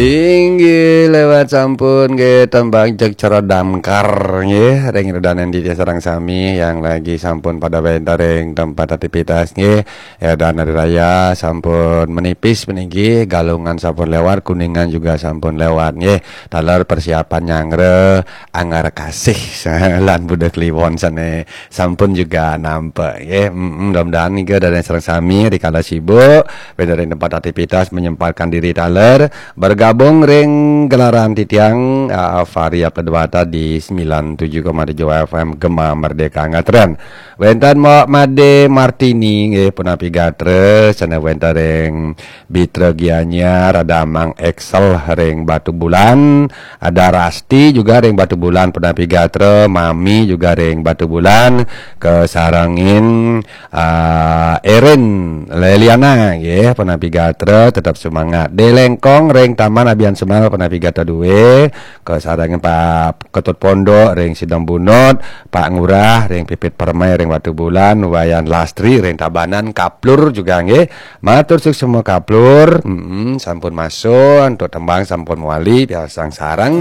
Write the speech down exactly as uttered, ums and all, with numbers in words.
Inggih, lewat sampun nggih tembang jeg cara damkar nggih ring ida dané titiang sareng sami yang lagi sampun pada wénten ring tempat aktivitas nggih. Édan hari raya sampun menipis puniki, Galungan sampun lewat, Kuningan juga sampun lewat nggih. Taler persiapan nyanggra Anggar Kasih lan Buda Kliwon sané sampun juga nampek nggih. Mm, mudah-mudahan nika ida dané sareng sami rikala sibuk wénten ring tempat aktivitas menyempatkan diri taler bergabung ring gelaran titiang, ah, Fahri Abdul Dewata di sembilan tujuh koma tujuh F M Gema Merdeka Ngatren. Wénten Mbok Made Martini nggih punapi gatra, sané wénten ring Bitra Gianyar, ada Mang Excel ring Batubulan, ada Rasti juga ring Batubulan punapi gatra, Mami juga ring Batubulan, kasarengin, ah, Erin Leliana nggih punapi gatra, tetap semangat. Dé Lengkong ring Taman Abiansemal punapi gatra duwé, kasarengin Pak Ketut Pondok ring Sidang Bunut, Pak Ngurah ring Pipit Permai ring Batubulan, Wayan Lastri ring Tabanan, kaplur juga nggih. Matur suksma kaplur. Mm-mm, sampun masuk, antuk tembang sampun mawali, piarsang sareng.